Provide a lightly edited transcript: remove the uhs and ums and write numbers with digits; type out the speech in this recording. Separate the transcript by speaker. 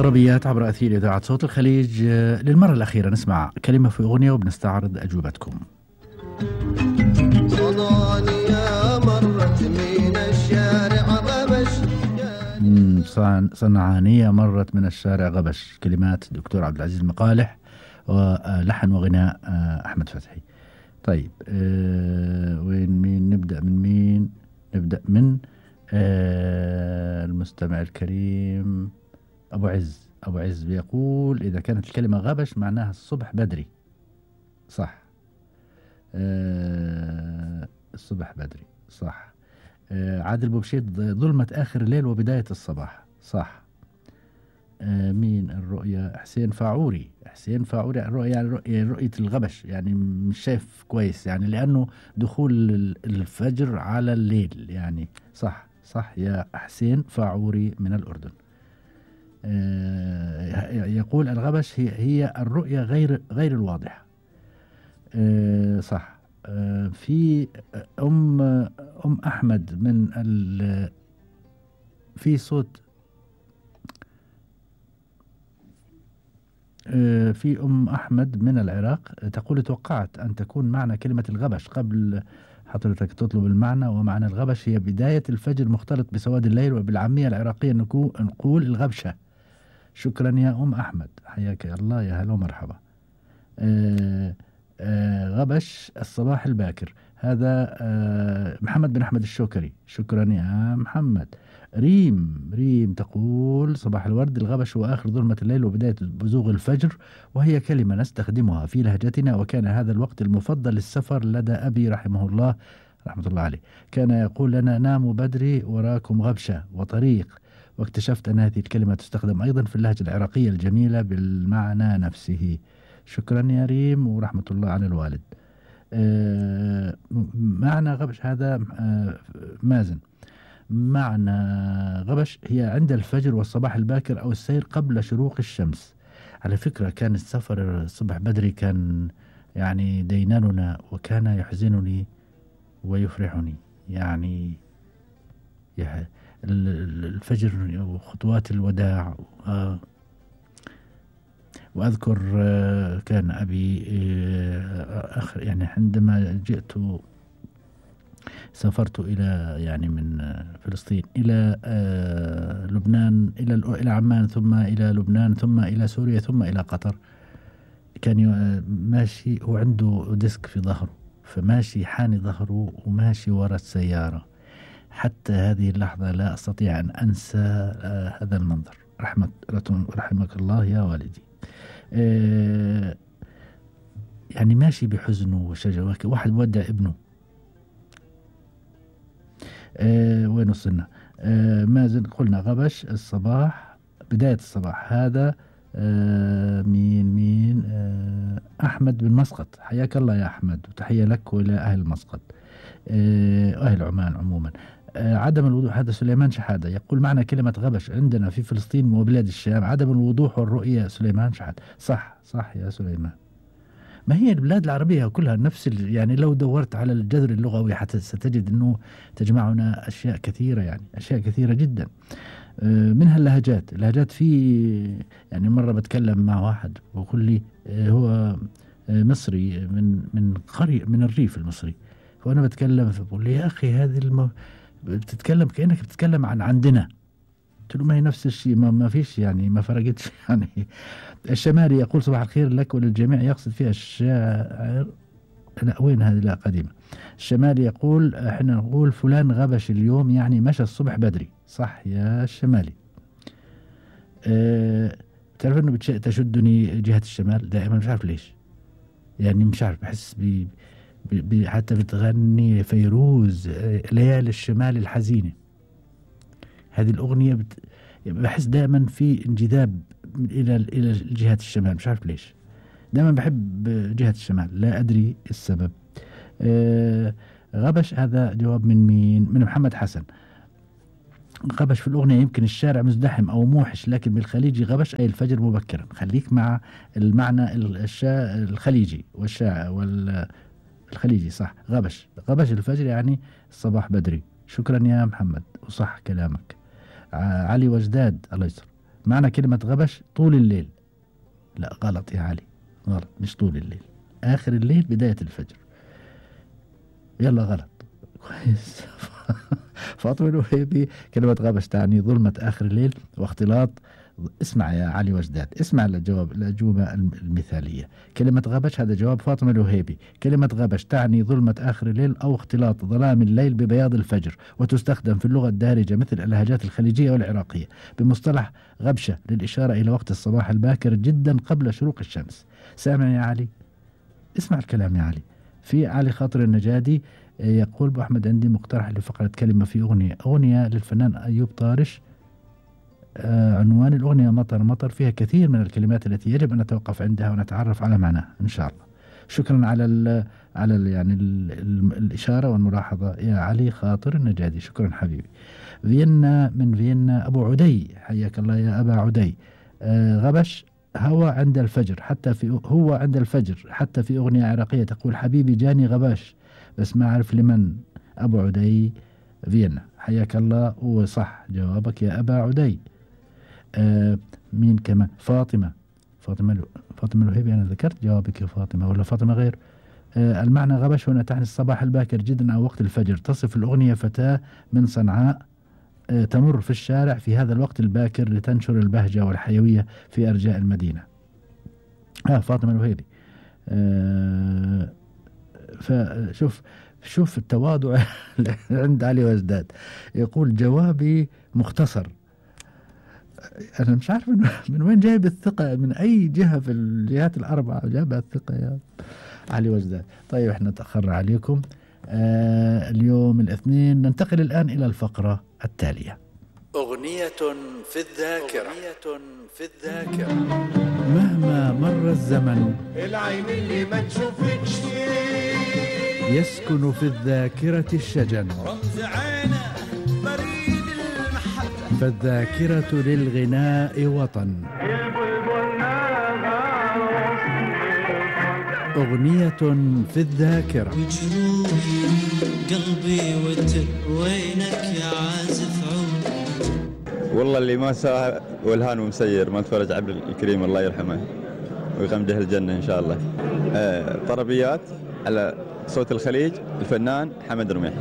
Speaker 1: طربيات عبر أثير إذاعة صوت الخليج. للمرة الأخيرة نسمع كلمة في أغنية وبنستعرض أجوبتكم.
Speaker 2: صنعانية مرت من الشارع غبش.
Speaker 1: صنعانية مرت من الشارع غبش، كلمات دكتور عبد العزيز المقالح ولحن وغناء أحمد فتحي. طيب وين نبدأ من مين؟ نبدأ من المستمع الكريم أبو عز بيقول إذا كانت الكلمة غبش معناها الصبح بدري. صح. الصبح بدري صح. عادل بوبشيت ظلمة آخر الليل وبداية الصباح. صح. مين الرؤية؟ حسين فاعوري الرؤية يعني رؤية الغبش، يعني مش شايف كويس، يعني لأنه دخول الفجر على الليل يعني. صح يا حسين فاعوري من الأردن. يقول الغبش هي الرؤية غير الواضحة. صح. في أم أحمد من في صوت. في أم أحمد من العراق تقول توقعت أن تكون معنى كلمة الغبش قبل حضرتك تطلب المعنى، ومعنى الغبش هي بداية الفجر مختلط بسواد الليل، وبالعامية العراقية نقول الغبشة. شكرا يا أم أحمد، حياك الله، يا هلا ومرحبا. غبش الصباح الباكر، هذا محمد بن أحمد الشوكري. شكرا يا محمد. ريم تقول صباح الورد، الغبش هو آخر ظلمة الليل وبداية بزوغ الفجر، وهي كلمة نستخدمها في لهجتنا، وكان هذا الوقت المفضل للسفر لدى أبي رحمه الله رحمة الله عليه. كان يقول لنا ناموا بدري وراكم غبشة وطريق، واكتشفت أن هذه الكلمة تستخدم أيضا في اللهجة العراقية الجميلة بالمعنى نفسه. شكرا يا ريم ورحمة الله على الوالد. معنى غبش هذا مازن، معنى غبش هي عند الفجر والصباح الباكر أو السير قبل شروق الشمس. على فكرة كان السفر الصبح بدري كان يعني ديناننا، وكان يحزنني ويفرحني، يعني الفجر وخطوات الوداع. وأذكر كان أبي يعني عندما جئت سافرت إلى يعني من فلسطين إلى لبنان، إلى عمان، ثم إلى لبنان، ثم إلى سوريا، ثم إلى قطر. كان ماشي وعنده ديسك في ظهره، فماشي حاني ظهره وماشي وراء السيارة. حتى هذه اللحظة لا أستطيع أن أنسى هذا المنظر. رحمك الله يا والدي. يعني ماشي بحزنه وشجوه، واحد مودع ابنه. وين وصلنا؟ مازن قلنا غبش الصباح، بداية الصباح. هذا مين أحمد بن مسقط، حياك الله يا أحمد، وتحية لك وإلى أهل مسقط، أهل عمان عموما. عدم الوضوح، هذا سليمان شحادة يقول معنى كلمة غبش عندنا في فلسطين وبلاد الشام عدم الوضوح والرؤية. سليمان شحادة صح يا سليمان. ما هي البلاد العربية كلها نفس يعني لو دورت على الجذر اللغوي حتى ستجد أنه تجمعنا أشياء كثيرة، يعني أشياء كثيرة جدا. منها اللهجات في يعني مرة بتكلم مع واحد ويقول لي هو مصري من قرية من الريف المصري، وأنا بتكلم فبقول لي يا أخي هذه بتتكلم كأنك بتتكلم عن عندنا. قلت له ما هي نفس الشيء، ما فيش يعني، ما فرقتش يعني. الشمالي يقول صباح الخير لك وللجميع، يقصد فيها الشاعر. لا وين هذه؟ لا قديمة. الشمالي يقول احنا نقول فلان غبش اليوم، يعني مشى الصبح بدري. صح يا الشمالي. تعرف انه تشدني جهة الشمال دائما، مش عارف ليش، يعني مش عارف، بحس حتى بتغني فيروز ليالي الشمال الحزينة، هذه الأغنية بحس دائما في انجذاب إلى جهة الشمال، مش عارف ليش دائما بحب جهة الشمال، لا أدري السبب. غبش هذا جواب من مين؟ من محمد حسن. غبش في الأغنية يمكن الشارع مزدحم أو موحش، لكن بالخليجي غبش أي الفجر مبكرا. خليك مع المعنى الخليجي والخليجي. صح. غبش الفجر يعني الصباح بدري. شكرا يا محمد وصح كلامك. علي وجداد الله يسر معنى كلمة غبش طول الليل. لا غلط يا علي، غلط، مش طول الليل، آخر الليل بداية الفجر. يلا غلط. كويس. فاطمة الوهيبي كلمة غبش تعني ظلمة آخر الليل واختلاط. اسمع يا علي وجداد، اسمع الجواب، الأجوبة المثالية. كلمة غبش هذا جواب فاطمة الوهيبي. كلمة غبش تعني ظلمة آخر الليل أو اختلاط ظلام الليل ببياض الفجر، وتستخدم في اللغة الدارجة مثل اللهجات الخليجية والعراقية بمصطلح غبشة للإشارة إلى وقت الصباح الباكر جدا قبل شروق الشمس. سامع يا علي؟ اسمع الكلام يا علي. في علي خاطر النجادي يقول أبو أحمد عندي مقترح لفقرة كلمة في أغنية للفنان أيوب طارش. عنوان الأغنية مطر مطر، فيها كثير من الكلمات التي يجب أن نتوقف عندها ونتعرف على معناها إن شاء الله. شكرا على الإشارة والملاحظة يا علي خاطر النجادي، شكرا حبيبي. فيينا، من فيينا أبو عدي، حياك الله يا أبا عدي. غبش هو عند الفجر، هو عند الفجر حتى في أغنية عراقية تقول حبيبي جاني غباش بس ما أعرف لمن. أبو عدي فيينا، حياك الله، وصح جوابك يا أبا عدي. مين كمان؟ فاطمة الوهيبي، أنا ذكرت جوابك يا فاطمة ولا فاطمة غير؟ المعنى غبش هنا تعني الصباح الباكر جدا أو وقت الفجر. تصف الأغنية فتاة من صنعاء تمر في الشارع في هذا الوقت الباكر لتنشر البهجة والحيوية في أرجاء المدينة. فاطمة الوهيبي. شوف التواضع عند علي وجداد، يقول جوابي مختصر. أنا مش عارف من وين جايب الثقة، من أي جهة في الجهات الأربعة جايب الثقة يا علي وجداد. طيب احنا تأخرنا عليكم اليوم الاثنين. ننتقل الآن إلى الفقرة التالية.
Speaker 3: أغنية في الذاكرة.
Speaker 1: مهما مر الزمن
Speaker 2: العين اللي ما تشوفكش
Speaker 1: يسكن في الذاكرة الشجن،
Speaker 3: رمز عينه بريد المحبة،
Speaker 1: فالذاكرة للغناء وطن. أغنية في الذاكرة.
Speaker 4: وجروحي قلبي وينك يا عازف عود.
Speaker 5: والله اللي ما ساعة والهان ومسير ما تفرج عبد الكريم الله يرحمه ويغمده الجنة إن شاء الله. طربيات على صوت الخليج، الفنان حمد رميح.